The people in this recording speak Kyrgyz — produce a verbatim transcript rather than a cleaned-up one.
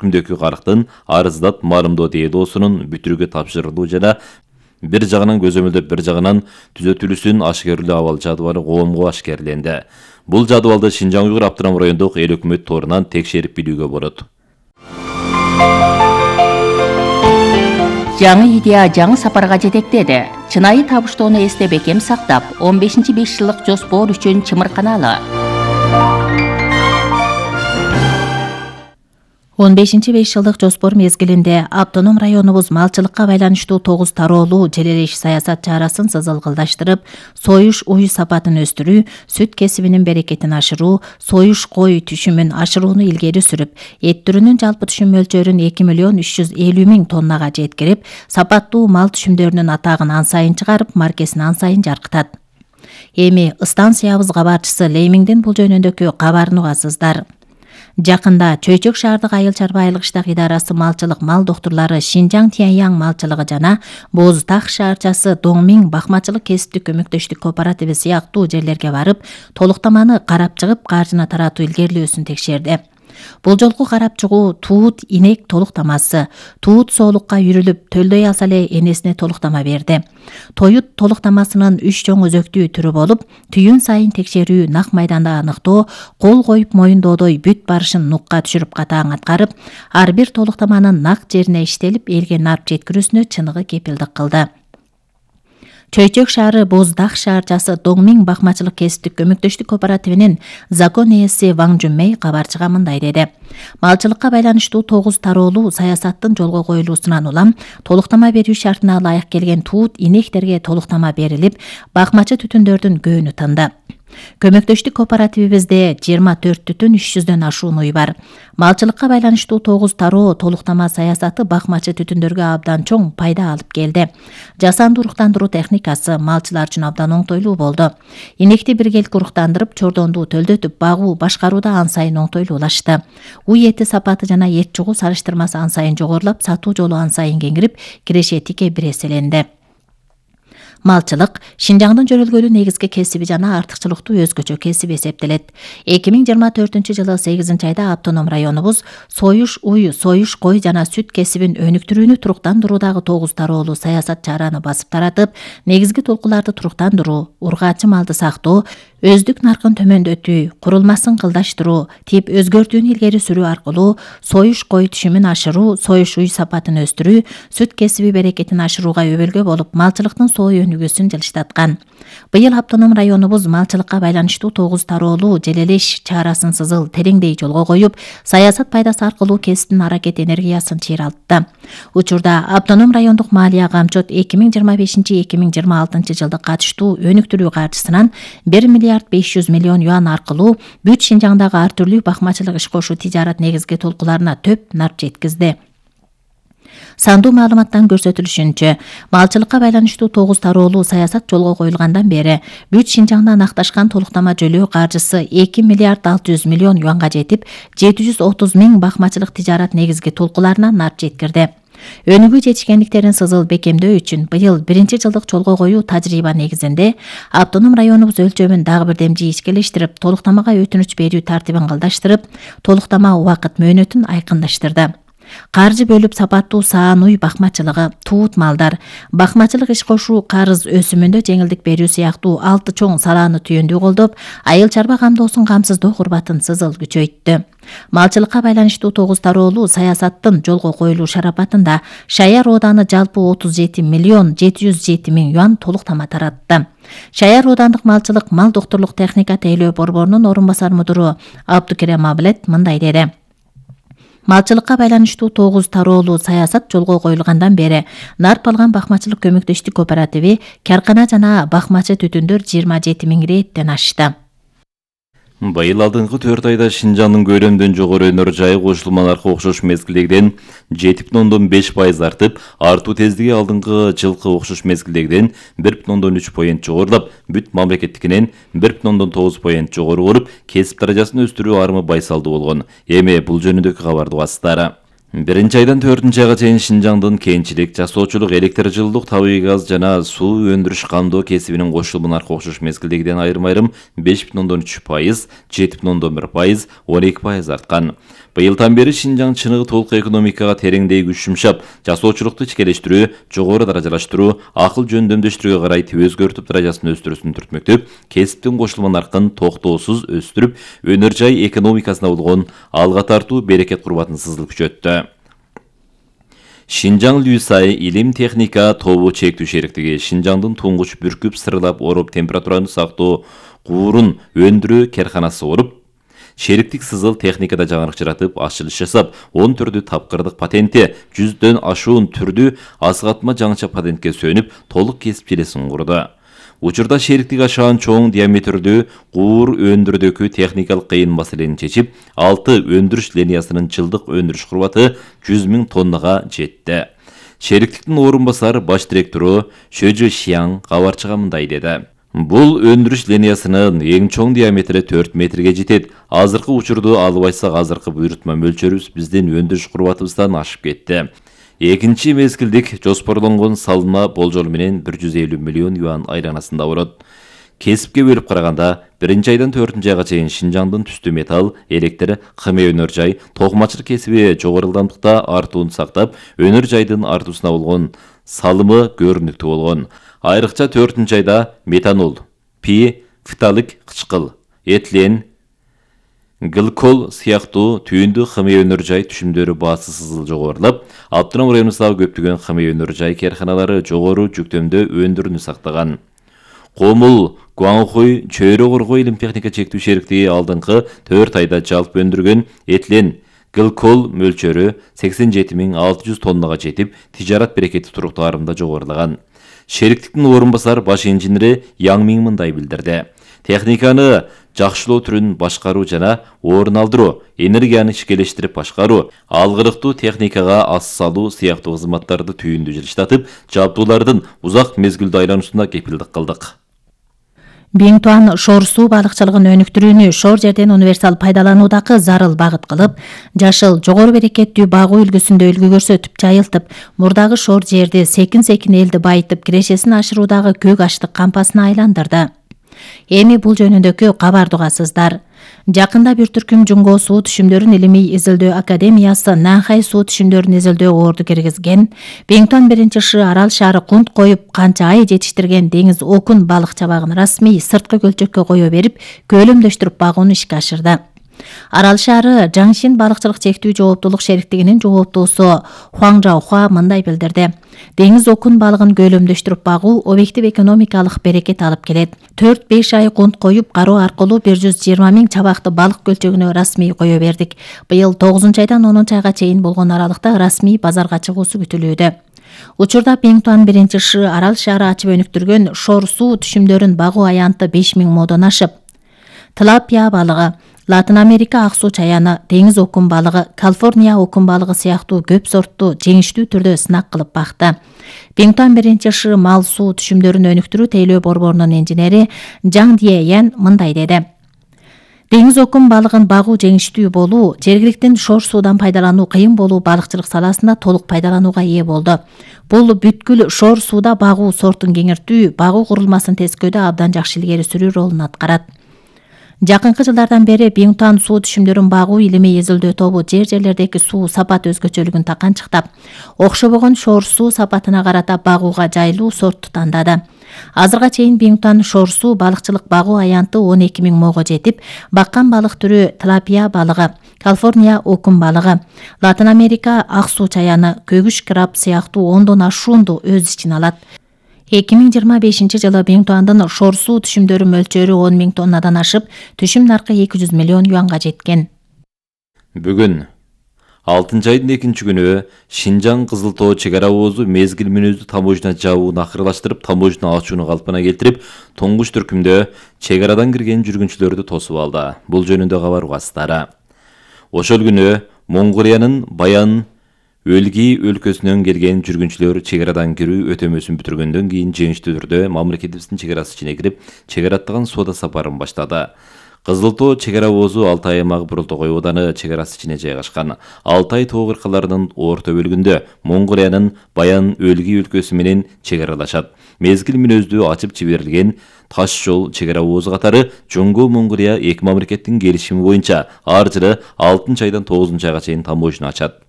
түркүмдөгү карактын арыздат марымдоо делосунун бүтүрүүгө тапшырылуу жана бир жагынан көзөмөлдөп бир жагынан түзөтүлүүсүн ашкерлөө абал жадыбалы коомго ашкерленди. Бул жадыбалды Шинжаң Уйгур автоном райондук эл өкмөт торунан текшерип билүүгө болот. Жаңы идея жаңы сапарга жетектеди. Чынайы табыштоону эсте бекем сактап, он бешинчи беш жылдык жоспор үчүн чымырканалы. он бешинчи беш жылдык жоспор мезгилинде автоном районубуз малчылыкка байланыштуу тогуз тароолуу желелеш саясат чарасын сызылгылдаштырып, союш уй сапатын өстүрүү, сүт кесибинин берекетин ашыруу, союш кой түшүмүн ашырууну илгери сүрүп, эт түрүнүн жалпы түшүм мөлчөрүн эки миллион үч жүз элүү миң тоннага жеткирип, сапаттуу мал түшүмдөрүнүн атагын ан сайын чыгарып, маркесин ан сайын жаркытат. Эми станциябыз кабарчысы Леймиңдин бул жөнүндөгү кабарын угасыздар. Жакында Чөйчөк шаардык айыл чарба айылгыштак идарасы малчылык мал доктурлары Шинжаң Тяньяң малчылыгы жана Боз Так шаарчасы Доңмиң бакмачылык кесиптик көмөктөштүк кооперативи сыяктуу жерлерге барып, толуктаманы карап чыгып, каржыны таратуу илгерилөөсүн текшерди. Бул жолку карап чыгуу туут инек толуктамасы. Туут соолукка үйрүлүп, төлдөй алса эле энесине толуктама берди. Тоют толуктамасынын үч чоң өзөктүү түрү болуп, түйүн сайын текшерүү, нак майданда аныктоо, кол коюп моюндоодой бүт барышын нукка түшүрүп катаң аткарып, ар бир толуктаманын нак жерине иштелип, элге нарп жеткирүүсүнө чыныгы кепилдик кылды. Чөйчөк шаары Боз Так шаарчасы Доңмиң бакмачылык кесиптик көмөктөштүк кооперативинин закон ээси Ваң Жунмей кабарчыга мындай деди. Малчылыкка байланыштуу тогуз тароолуу саясаттын жолго коюлуусунан улам толуктама берүү шартына ылайык келген туут инектерге толуктама берилип, бакмачы түтүндөрдүн көөнү тынды. Көмөктөштүк кооперативибизде жыйырма төрт бүтүн үч жүздөн ашуун уй бар. Малчылыкка байланыштуу тогуз тароо толуктама саясаты бакмачы түтүндөргө абдан чоң пайда алып келди. Жасанды уруктандыруу техникасы малчылар үчүн абдан оңтойлуу болду. Инекти биргелик уруктандырып, чордонду төлдөтүп багуу, башкарууда ан сайын оңтойлуулашты. Уй эти сапаты жана эт чугуу салыштырмасы ан сайын жогорулап, сатуу жолу ан сайын кеңирип, киреше тике бир эселенди. Малчылык Шинжаңдын жөрөлгөлүү негизги кесиби жана артыкчылыктуу өзгөчө кесип эсептелет. эки миң жыйырма төртүнчү жылы сегизинчи айда автоном районубуз союш уй, союш кой жана сүт кесибин өнүктүрүүнү туруктандыруудагы тогуз тароолуу саясат чараны басып таратып, негизги толкуларды туруктандыруу, ургаачы малды сактоо, өздүк наркын төмөндөтүү, курулмасын кылдаштыруу, тип өзгөртүүнү илгери сүрүү аркылуу союш кой түшүмүн ашыруу, союш уй сапатын өстүрүү, сүт кесиби берекетин ашырууга өбөлгө болуп, малчылыктын соо өнүгүүсүн жылыштаткан. Быйыл автоном районубуз малчылыкка байланыштуу тогуз тароолуу желелеш чарасын сызыл тереңдей жолго коюп, саясат пайдасы аркылуу кесиптин аракет энергиясын чыйралтты. Учурда автоном райондук малия камчот эки миң жыйырма бешинчи — эки миң жыйырма алтынчы жылдык катыштуу өнүктүрүү каржысынан бир миллиард беш жүз миллион юан аркылуу бүт Шинжаңдагы ар түрлүү бакмачылык иш кошуу тижарат негизги толкуларына төп нарп жеткизди. Сандуу маалыматтан көрсөтүлүшүнчө, малчылыкка байланыштуу тогуз тароолуу саясат жолго коюлгандан бери бүт Шинжаңда анакташкан толуктама жөлөө каржысы эки миллиард алты жүз миллион юанга жетип, жети жүз отуз миң бакмачылык тижарат негизги толкуларына нарп жеткирди. Өнүгүү жетишкендиктерин сызыл бекемдөө үчүн быйыл биринчи жылдык жолго коюу тажрыйба негизинде автоном районубуз өлчөмүн дагы бир демжи ичкелештирип, толуктамага өтүнүч берүү тартибин кылдаштырып, толуктама убакыт мөөнөтүн айкындаштырды. Каржы бөлүп сапаттуу саан уй бакмачылыгы, туут малдар, бакмачылык иш кошуу, карыз өсүмүндө жеңилдик берүү сыяктуу алты чоң салааны түйүндүү колдоп, айыл чарба камдоосун камсыздоо курбатын сызыл күчөйттү. Малчылыкка байланыштуу тогуз тароолуу саясаттын жолго коюлуу шарапатында Шаяр ооданы жалпы отуз жети миллион жети жүз жети миң юан толуктама таратты. Шаяр оодандык малчылык мал доктурлук техника тейлөө борборунун орун басар мудуру Абдукерем Аблет мындай деди. Малчылыкка байланыштуу тогуз тароолуу саясат жолго коюлгандан бери нарп алган бакмачылык көмөктөштүк кооперативи каркана жана бакмачы түтүндөр жыйырма жети миң рейттен ашты. Быйыл алдыңкы төрт айда Шинжаңдын көлөмдөн жогору өнөр жайы кошулмаларга окшош мезгилдегиден жети бүтүн ондон беш пайыз артып, артуу тездиги алдыңкы жылкы окшош мезгилдегиден бир бүтүн ондон үч поинт жогорулап, бүт мамлекеттикинен бир бүтүн ондон тогуз поинт жогору болуп, кесип даражасын өстүрүү арымы байсалдуу болгон. Эми бул жөнүндөгү кабарды угасыздар. Биринчи айдан төртүнчү айга чейин Шинжаңдын кенчилик, жасоочулук, электр жылуулук, табигый газ жана суу өндүрүш камдоо кесибинин кошулмаларга окшош мезгилдегиден айрым-айрым беш бүтүн ондон үч пайыз, жети бүтүн ондон бир пайыз, он эки пайыз арткан. Быйылдан бери Шинжаң чыныгы толук экономикага тереңдей күч жумшап, жасоочулукту ичкелештирүү, жогору даражалаштыруу, акыл жөндөмдөштүрүүгө карай өзгөртүп даражасын өстүрүүсүн түртмөктөп, кесиптин кошулма наркын токтоосуз өстүрүп, өнөр жай экономикасына болгон алга тартуу берекет курбатын сызыл күчөттү. Шинжаң Люсай илим техника тобу чектүү шериктиги Шинжаңдын туңгуч бүркүп сырылап ороп температураны сактоо куурун өндүрүү керканасы болуп, шериктик сызыл техникада жаңырык жаратып, ачылыш жасап, он төртү тапкырдык патенти, жүздөн ашуун түрдүү асыгатма жаңыча патентке сөнүп, толук кесип желесин курду. Учурда шериктик ашаан чоң диаметрдүү куур өндүрүүдөгү техникалык кыйын маселени чечип, алты өндүрүш линиясынын жылдык өндүрүш курбаты жүз миң тоннага жетти. Шериктиктин орун басар баш директору Шөжү Шияң кабарчыга мындай деди. Бул өндүрүш линиясынын эң чоң диаметри төрт метрге жетет. Азыркы учурду албайсак, азыркы буйрутма мөлчөрүбүз биздин өндүрүш курбатыбыздан ашып кетти. Экинчи мезгилдик жоспорлонгон салынма болжол менен бир жүз элүү миллион юан айланасында болот. Кесипке бөлүп караганда, биринчи айдан төртүнчү айга чейин Шинжаңдын түстүү металл, электр, кыме өнөр жай, токмачылык кесиби жогору ылдамдыкта артуун сактап, өнөр жайдын артуусуна болгон салымы көрүнүктүү болгон. Айрыкча төртүнчү айда метанол, пи, фиталык кычкыл, этилен, гликол сыяктуу түйүндү кыме өнөр жай түшүмдөрү баасы сызыл жогорулап, Автоном районубуздагы көптөгөн кыме өнөр жай керканалары жогору жүктөмдө өндүрүүнү сактаган. Комул, Гуанхуй, Чөйрө Коргой илим техника чектүү шериктиги алдыңкы төрт айда жалпы өндүргөн этилен, гликол мөлчөрү сексен жети миң алты жүз тоннага жетип, тижарат берекети туруктаарында жогорулаган. Шериктиктин орун басар баш инженери Яң Миң мындай билдирди. Техниканы жакшылоо түрүн башкаруу жана орун алдыруу, энергияны ичкелештирип башкаруу, алгырыктуу техникага ас салуу сыяктуу кызматтарды түйүндү жылыштатып, жабдуулардын узак мезгилдүү айлануусуна кепилдик кылдык. Биңтуан шор суу балыкчылыгын өнүктүрүүнү шор жерден универсал пайдалануудагы зарыл багыт кылып, жашыл, жогору берекеттүү багуу үлгүсүндө үлгү көрсөтүп, жайылтып, мурдагы шор жерди секин-секин элди байытып, кирешесин ашыруудагы көк аштык кампасына айландырды. Эми бул жөнүндөгү кабарды угасыздар. Жакында бир түркүм Жунго суу түшүмдөрүн илимий изилдөө академиясы Нанхай суу түшүмдөрүн изилдөө орду киргизген. Биңтуан биринчи шы арал шаары кунт коюп, канча ай жетиштирген деңиз окун балык чабагын расмий сырткы көлчөккө кое берип, көлөмдөштүрүп багууну ишке ашырды. Арал шаары Жаңшин балыкчылык чектүү жооптуулук шериктигинин жооптуусу Хуаң Жаохуа мындай билдирди. Деңиз окун балыгын көлөмдөштүрүп багуу объектив экономикалык берекет алып келет. төрт беш ай кунт коюп, кароо аркылуу бир жүз жыйырма миң чабакты балык көлчөгүнө расмий кое бердик. Быйыл тогузунчу айдан онунчу айга чейин болгон аралыкта расмий базарга чыгуусу күтүлүүдө. Учурда Биңтуан биринчи шы арал шаары ачып өнүктүргөн шор суу түшүмдөрүн багуу аянты беш миң модон ашып. Тилапия балыгы, Латын Америка ак суу чаяны, деңиз окун балыгы, Калифорния окун балыгы сыяктуу көп сорттуу жеңиштүү түрдө сынак кылып бакты. Биңтуан биринчи шы мал суу түшүмдөрүн өнүктүрүү тейлөө борборунун инженери Жаң Диэян мындай деди. Деңиз окун балыгын багуу жеңиштүү болуу, жергиликтин шор суудан пайдалануу кыйын болуу балыкчылык саласында толук пайдаланууга ээ болду. Бул бүткүл шор сууда багуу сортун кеңиртүү, багуу курулмасын тескөөдө абдан жакшы илгери сүрүү ролун аткарат. Жакынкы жылдардан бери Биңтуан суу түшүмдөрүн багуу илимий изилдөө тобу жер жерлердеги суу сапат өзгөчөлүгүн таканчыктап, окшобогон шор суу сапатына карата багууга жайлуу сортту тандады. Азырга чейин Биңтуан шор суу балыкчылык багуу аянты он эки миң мого жетип, баккан балык түрү Тилапия балыгы, Калифорния окун балыгы, Латын Америка ак суу чаяны, көгүш краб сыяктуу ондон ашуунду өз ичине алат. эки миң жыйырма бешинчи жылы Биңтуандын шор суу түшүмдөрү мөлчөрү он миң тоннадан ашып, түшүм наркы эки жүз миллион юанга жеткен. Бүгүн алтынчы айдын экинчи күнү Шинжаң Кызыл Тоо чек ара оозу мезгил мүнөздүү таможня жабууну акырылаштырып, таможня ачууну калпына келтирип, туңгуч түркүмдө чек арадан кирген жүргүнчүлөрдү тосуп алды. Бул жөнүндө кабар угасыздары. Ошол күнү Монголиянын Баян Өлги өлкөсүнөн келген жүргүнчүлөр чек арадан кирүү өтөмөсүн бүтүргөндөн кийин жеңиштүү түрдө мамлекетибиздин чек арасы ичине кирип, чек ара аттаган соода сапарын баштады. Кызыл Тоо чек ара обозу Алтай аймагы Бурултогой ооданы чек арасы ичине жайгашкан. Алтай тоо кыркаларынын орто бөлүгүндө Монголиянын Баян Өлгий өлкөсү менен чек аралашат. Мезгил мүнөздүү ачып жиберилген таш жол чек ара обозу катары Жоңго Монголия эки мамлекеттин келишими боюнча ар жылы алтынчы айдан тогузунчу айга чейин тамошаны ачат.